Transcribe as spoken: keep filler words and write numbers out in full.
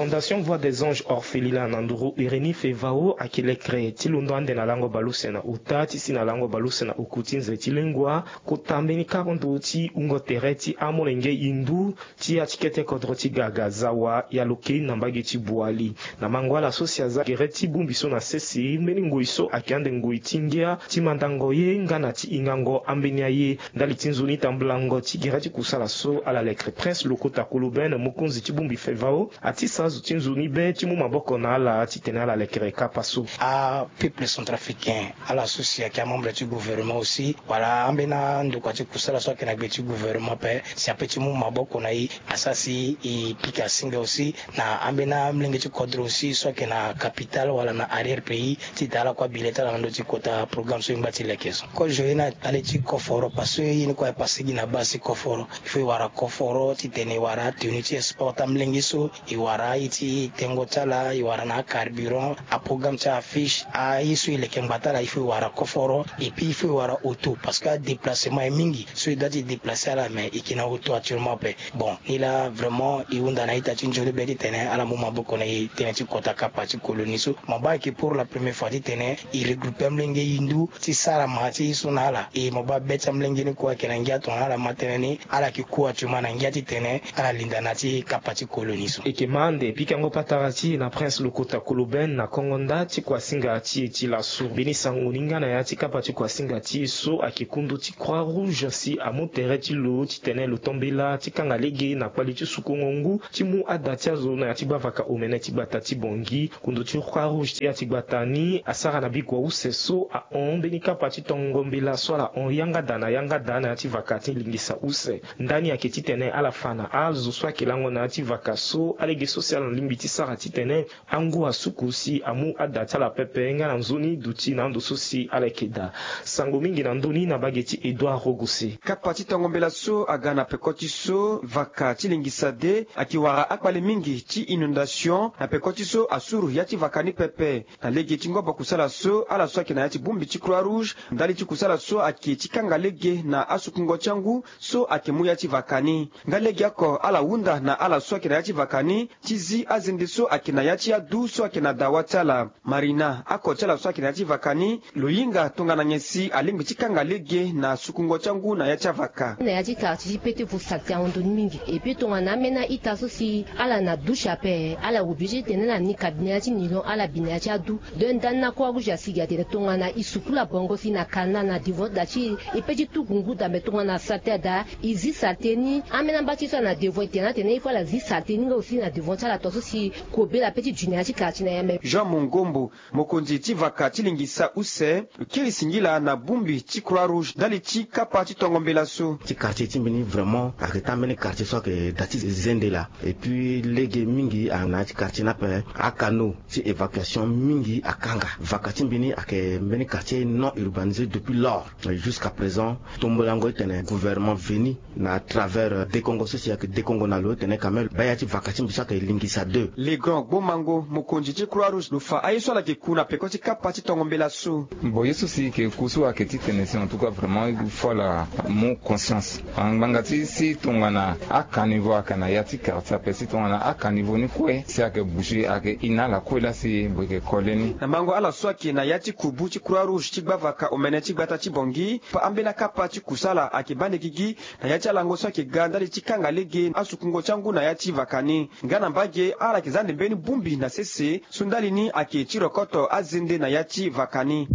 Fondation Voix des Anges Orphelina na nduru Ureni Fevao ayeke lekere ti londo ande na lango baleuse na ota ti si na lango baleuse na oku ti nze ti lengua, kota mbeni kapa ndo ti wungo tere ti amolenge hindu ti ya ti kete kodro ti Gaga Zawa ya lo kei na mbage ti Boali. Na mango ala so si aza gere ti bongbi so na sese, mbeni ngoi so ayeke ande ngoi ti ngia ti mandango ye nga na ti hingango ambeni aye. Ndali ti nzoni tambulango ti gere ti kusala so, ala lekere Prince Lokota Koloben, mokonzi ti bongbi Fevao, atisa azo ti nzoni be ti mu maboko na ala titene ala lekere kapa so. Apeuple centrafricain, ala so si ayeke amembre ti gouvernement aussi, wala ambeni andokua ti kusala so ayeke na gbe ti gouvernement ape, si ape ti mu maboko na e, asara si e pika singa aussi na ambeni amolenge ti kodro aussi so ayeke na capitale wala na arrière pays, titene ala kue abi le ti ala na ndö ti kota programme so e ngba ti leke so. Kozo ye na ndali ti koforo, parce que ye ni kue aye pase gi na base ti koforo. Il faut e wara koforo titene e wara atenu ti export ti amolenge so, e wara aye ti tengo ti ala, e wara na acarburant, aprogramme ti afiche, aye so e leke ngbata ala, il faut e wara koforo. Et puis il faut e wara auto, parce que adéplacement aye mingi, so e doit ti déplacer ala, mais e yeke na auto actuellement ape. Bon, ni laa vraiment e hunda na a-ita ti nzoni be titene ala mu maboko na e tënë ti kota kapa ti colonie so. Mo baa ayeke pour la première fois titene e regrouper amolenge hindu ti sara ma ti ye so na ala. E mo baa be ti amolenge ni kue ayeke na ngia tongana ala ma tënë ni, ala yeke ku actuellement na ngia titene ala linda na ya ti kapa ti colonie so. E yeke ma ande pikango patara ti e na Prince Lokota Koloben na kongo nda ti kuasinga ti e ti laso. Mbeni sango ni nga na ya ti kapa ti kuasinga ti e so ayeke kundu ti Croix Rouge si amu tere ti lo titene lo to mbela ti kanga lege na kpali ti sukungo ngu ti mu ada ti azo na ya ti gbavaka omene ti gbata ti Bangui. Kundu ti Croix Rouge ti ya ti gbata ni asara na bikua use so ahon mbeni kapa ti tongo mbela so ala hon yanga daa na yanga daa na ya ti vaka ti lingisa use. Ndani ayeke titene ala fa na azo so ayeke lango na ya ti vaka so alege so si ala na lingbi ti sara titene angu asuku si amu ada ti ala pepe nga na nzoni duti na ando so si ala yeke daa. Sango mingi na ndö ni na mbage ti Edouard Rogose. Kapa ti tongo mbela so aga na peko ti so vaka ti lingisa de ayeke wara akpale mingi ti inondation na peko ti so asuru ya ti vaka ni pepe. Na lege ti ngobo kusala so, ala so ayeke na ya ti bongbi ti Croix Rouge, ndali ti kusala so ayeke ti kanga lege na asukungo ti angu so ayeke mu ya ti vaka ni. Nga legeoko ala hunda na ala so ayeke na ya ti vaka ni ti zi azende so ayeke na ya ti adu so ayeke na dawa ti ala. Marina, ako ti ala so ayeke na ya ti vaka ni, lo hinga tongana nyen si alingbi ti kanga lege na sukungo ti angu na ya ti avaka. Na ya ti quartier ti Petit Foussat ti ahon ndo ni mingi. Et puis tongana ambeni a-ita so si ala na douche ape, ala obligé titene ala ni ka bi na ya ti nylon, ala bi na ya ti adu. Donc ndani na Croix Rouge asigi atene tongana e sukula bongo si na canal na devant daa ti e, e pe ti tuku ngu daa, me tongana saleté adaa, e zi saleté ni. Ambeni amba ti so ala na devant, e tene atene il faut ala zi saleté ni nga aussi na devant ti ala, tongaso si kobela pe ti dunia ti quartier na ya même. Jean Mongombo, mokonzi ti vaka ti lingisa use, lo kiri singila na bongbi ti Croix Rouge ndali ti kapa ti tongo mbela so. Ti quartier ti mbeni vraiment ayeke taa mbeni quartier so ayeke daa ti zende laa. Et puis lege mingi ayeke na ya ti quartier ni ape, acanaux ti évacuation mingi akanga. Vaka ti mbi ni ayeke mbeni quartier non urbanisé depuis lors. Jusqu'à présent, tombolango titene gouvernement veni na travers, euh, Dekongo so si ayeke Dekongo na lo titene quand même baa ya ti vaka ti mbi so ayeke lingisa deux. Le Grand Gbomango, mokonzi ti Croix Rouge, lo fa aye so ala yeke ku na peko ti kapa ti tongo mbela so. Bon, ye so si e yeke ku so ayeke titene si en tout cas vraiment il faut ala mu conscience. Ngbanga ti si tongana acaniveau ayeke na ya ti quartier ape, si tongana acaniveau ni kue si ayeke bouger, ayeke e na ala kue laa si mbi yeke kole ni. Na mango ala so ayeke na ya ti kubu ti Croix Rouge ti gbavaka omene ti gbata ti Bangui, pa ambeni akapa ti kusala ayeke baa ande gigi na ya ti alango so ayeke ga ndali ti kanga lege asukungo ti angu na ya ti vaka ni. Nga na mbage, ala yeke za ande mbeni bongbi na sese so ndali ni ayeke ti rokoto azende na ya ti vaka ni.